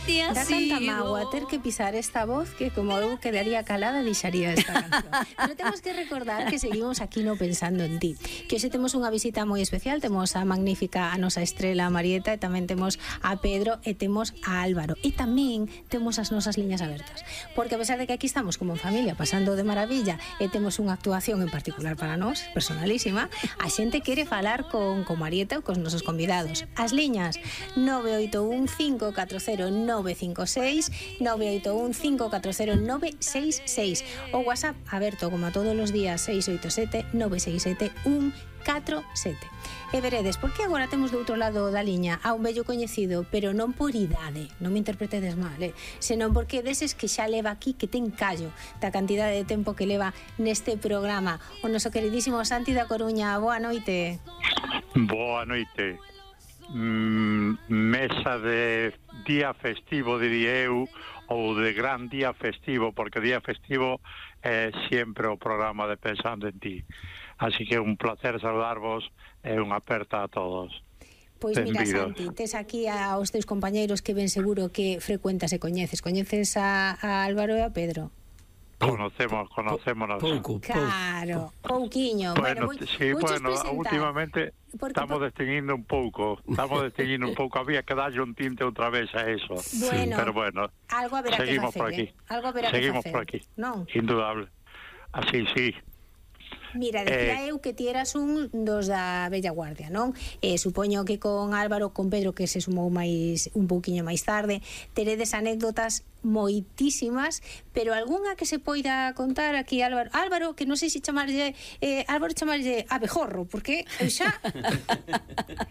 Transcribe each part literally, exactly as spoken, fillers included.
ti ha Dá sido. tanta mágoa ter que pisar esta voz que como eu quedaría calada dixaría esta canción. Pero temos que recordar que seguimos aquí no Pensando en Ti, que hoxe temos unha visita moi especial. Temos a magnífica, a nosa estrela Marieta, e tamén temos a Pedro e temos a Álvaro, e tamén temos as nosas liñas abertas, porque a pesar de que aquí estamos como en familia pasando de maravilla e temos unha actuación en particular para nós, personalísima, a xente quere falar con, con Marieta ou cos nosos convidados. As liñas nove oito un cinco catro cero nove cinco seis, nove oito un cinco catro cero nove seis seis, o WhatsApp aberto como a todos os días seis oito sete nove seis sete un catro sete. E veredes, porque agora temos do outro lado da liña a un vello coñecido, pero non por idade, non me interpretedes mal, eh? senón porque deses que xa leva aquí, que ten callo da cantidade de tempo que leva neste programa, o noso queridísimo Santi da Coruña. Boa noite. Boa noite. Mm, mesa de día festivo, diría eu, ou de gran día festivo, porque día festivo é sempre o programa de Pensando en Ti. Así que un placer saudarvos e unha aperta a todos. Pois mira, Santi, tes aquí aos teus compañeiros que ben seguro que frecuentas e coñeces. Coñeces a, a Álvaro e a Pedro? Conocemos, conocémonos. Pouco, Claro, pouquiño. Bueno, Bueno, sí, bueno, últimamente porque, estamos por... desteñindo un pouco, estamos desteñindo un pouco, había que darlle un tinte outra vez a eso. Bueno, pero bueno, algo haberá seguimos que facer, por aquí. eh? Algo haberá seguimos que facer, por aquí, non? indudable. Así, sí. Mira, decía eh, eu que ti eras un dos da vella guardia, non? Eh, supoño que con Álvaro, con Pedro, que se sumou máis un pouquiño máis tarde, teredes anécdotas moitísimas, pero algunha que se poida contar aquí, Álvaro, Álvaro, que non sei se chamarlle eh, Álvaro chamarlle abejorro, porque eu xa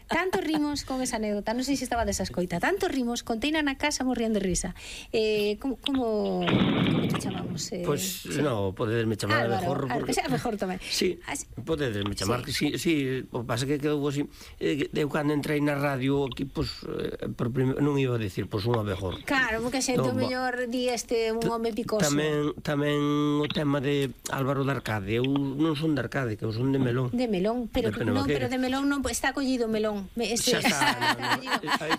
tanto rimos con esa anécdota, non sei se estaba desa escoita, tanto rimos, conteina na casa morriendo de risa. Eh, como, como, como te chamamos? Eh, Pois, sí. no, podedesme chamar abejorro, porque... Álvaro, abejorro tamén. Sí, Así... podedesme chamar, sí. que sí, sí, o que pasa que quedou así, eh, eu cando entrei na radio aquí, pois, eh, por primer, non iba a decir, pois, un abejorro. Claro, porque a xente o mellor di este un home picoso. Tamén, tamén o tema de Álvaro de Arcade, eu non son de Arcade, que eu son de Melón. De Melón, pero de non, pero de Melón non está collido Melón. Este, xa está, no, no. Aí,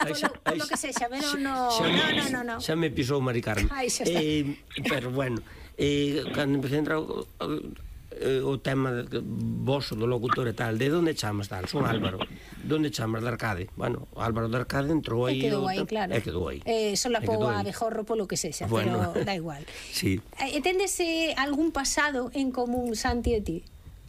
aí, xa, por lo que sexa, Melón no, xa, no, no, no, no. Xa me pisou Mari Carmen. Ai, xa está. Eh, pero bueno, eh, cando empecé a entrar eh, o tema de, vosso do locutor e tal, de onde chamas tal? Son Álvaro. De onde chamas? De Arcade. Bueno, Álvaro de Arcade entrou aí. E quedou aí, o, claro. E quedou aí. Eh, solapou a abejorro polo que sexa, bueno, pero da igual. Sí. Eh, Téndese algún pasado en común, Santi e ti?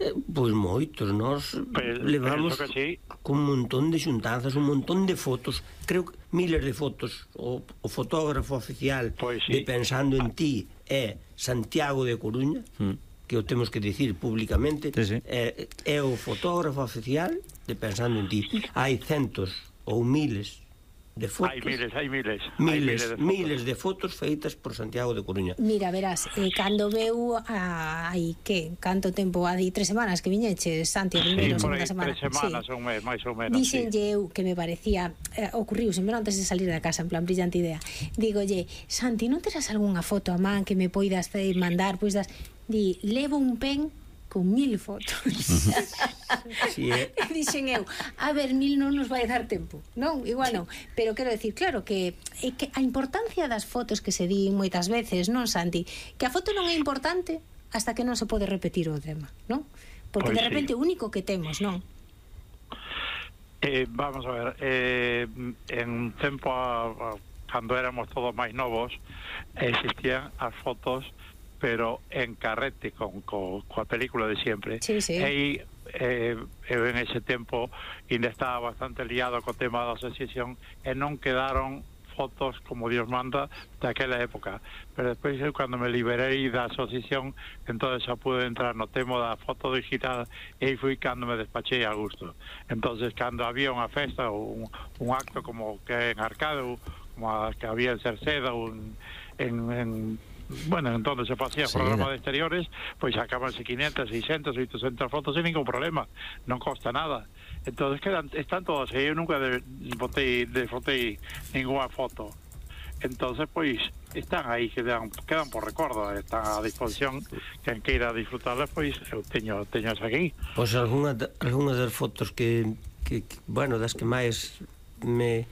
Eh, pois moitos, nós Pues, levamos que sí. con un montón de xuntanzas, un montón de fotos, creo que miles de fotos. O, o fotógrafo oficial pues sí. de Pensando en Ti é Santiago de Coruña, mm. que o temos que dicir públicamente, sí, sí. É, é o fotógrafo oficial de Pensando en Ti. Hai centos ou miles de fotos. Hai miles, hai miles. Miles, hai miles, de miles de fotos feitas por Santiago de Coruña. Mira, verás, eh, cando veu aí, que, canto tempo, hai tres semanas que viñeches, Santi, a primeira sí, ou segunda semana. tres semanas, sí. un mes, máis ou menos. Dixenlle eu que me parecía, eh, ocurriu sempre antes de salir da casa, en plan brillante idea. Dígolle, Santi, non terás algunha foto a man que me poidas eh, mandar? Pois das, di, levo un pen con mil fotos. Sí, eh. E dixen eu, a ver, mil non nos vai dar tempo, non? Igual non, pero quero decir, claro que, é que a importancia das fotos que se di moitas veces, non, Santi? Que a foto non é importante hasta que non se pode repetir o tema, non? Porque Pois de repente sí. o único que temos, non? Eh, vamos a ver, eh, en un tempo a, a, cando éramos todos máis novos, existían as fotos, pero en carrete con, con coa película de siempre. Sí, sí. E eh, eu en ese tempo ainda estaba bastante liado co tema da asociación e non quedaron fotos como Dios manda daquela época, pero despois eu cando me liberei da asociación, entonces xa pude entrar no tema da foto digital e foi cando me despachei a gusto. Entonces cando había unha festa ou un, un acto como que en Arcade ou como a que había en Cerceda ou en, en, en bueno, entonces se facía sí, programa de exteriores, pois acabanse quinientas, seiscentas, oitocentas fotos sin ningún problema, non costa nada. Entonces quedan, están todas, e eu nunca desbotei, desbotei ninguna foto. Entonces, pois, están aí, quedan, quedan por recordo, están a disposición, quen queira disfrutarlas, pois, eu teño, teño aquí. Pois algunha, algunha das fotos que, que, que, bueno, das que máis me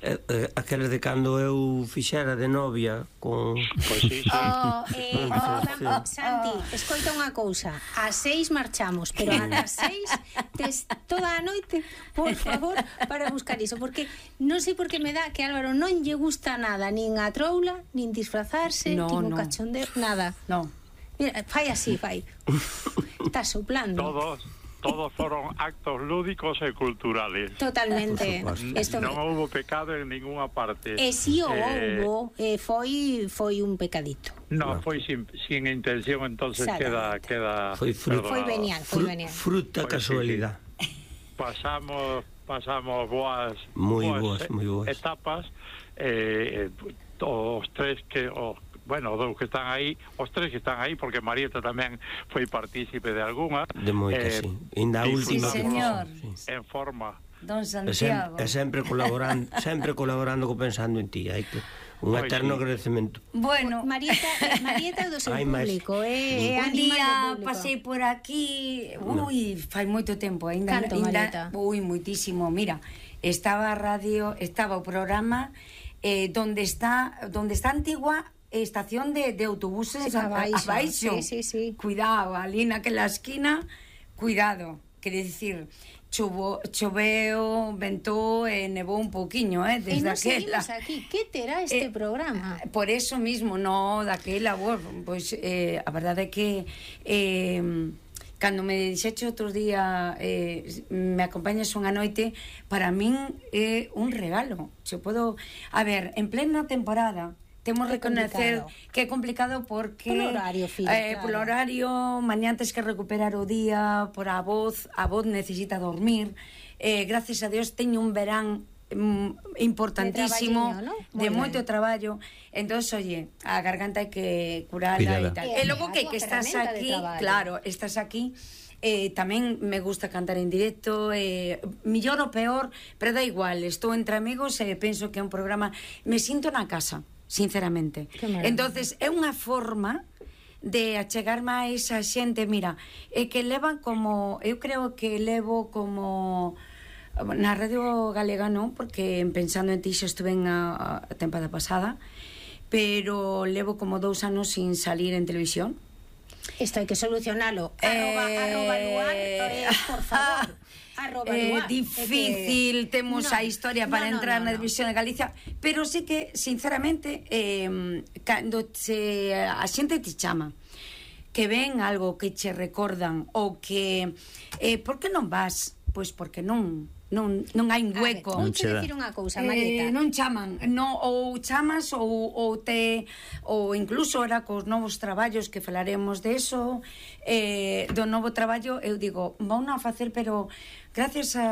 Eh, eh, aqueles de cando eu fixera de novia con... Pois sí, sí. Oh, eh, Ah, oh, sí. Santi, escoita unha cousa. Ás seis marchamos, pero ata as seis tes toda a noite, por favor, para buscar iso, porque non sei por que me dá que Álvaro non lle gusta nada, nin a troula, nin disfrazarse, No, nin o no. cachondeo, nada. No. Mira, fai así, fai. Está soplando. Todos, todos foron actos lúdicos e culturales. Totalmente. Por suposto. Esto Non houve pecado en ninguna parte. E si o Eh, houbo, eh, foi foi un pecadito. No, foi sin, sin intención, entonces queda, Exactamente. queda Foi fruto. Foi perdonado. venial, foi Fru venial. fruta Pois sí, casualidade. Pasamos, pasamos boas, Moi boas, eh, moi boas. etapas, eh, eh, os tres que, os, bueno, os dous que están aí, os tres que están aí, porque Marieta tamén foi partícipe de algunha. De moitas, eh, sí. Inda a última. Sí, señor. Sí. En forma. Don E, sem, Santiago. e sempre colaborando, sempre colaborando co pensando en ti, hai que un Pois eterno sí. agradecemento. Bueno, Marieta, Marieta do seu Hai máis. público, é, é un animal do día público. pasei por aquí, ui, fai moito tempo, ainda, Canto, Marieta? ainda ui, moitísimo. Mira, estaba a radio, estaba o programa eh, donde está, donde está a antigua estación de, de autobuses Sí, abaixo. abaixo. Sí, sí, sí. Cuidado, ali naquela esquina, cuidado. Quere dicir, chuvo, choveu, ventou e nevou un pouquiño, eh, E desde nos aquela. seguimos aquí. Que terá este Eh, programa? Por eso mismo, no daquela, bueno, pois eh, a verdade é que eh, cando me dixeche outro día eh, me acompañas unha noite, para min é un regalo. Se podo, a ver, en plena temporada temos Que reconocer complicado. que é complicado porque Polo horario, filla, eh, claro. polo horario, mañá tes que recuperar o día, por a voz, a voz necesita dormir. Eh, gracias a Dios teño un verán mm, importantísimo, De traballiño, ¿no? de Moi moito ben. traballo. Entonces, oye, a garganta hai que curala Cuidala. e tal. E E logo que, a túa que estás ferramenta de aquí, traballo. claro, estás aquí, eh, tamén me gusta cantar en directo, eh, millor ou peor, pero da igual, estou entre amigos e penso que é un programa, me sinto na casa, sinceramente. Que maravilla. Entonces, é unha forma de achegarme a esa xente, mira, é que levan como, eu creo que levo como na Radio Galega non, porque pensando en ti xa estuve en a, a tempada pasada, pero levo como dous anos sin salir en televisión. Isto hai que solucionalo. Arroba, Eh, arroba luar, eh, por favor. Arroba É luar. difícil, É que... temos No, a historia para no, no, entrar no, na no. televisión de Galicia, pero sí que, sinceramente, eh, cando se, a xente te chama, que ven algo que che recordan, ou que, eh, por que non vas? Pois porque non, non, non hai un A ver, hueco. vou Non che che dá. decir unha cousa, Eh, Marieta. non chaman, no, ou chamas ou, ou te ou incluso ahora cos novos traballos que falaremos de eso, eh, do novo traballo, eu digo, vou non a facer, pero gracias a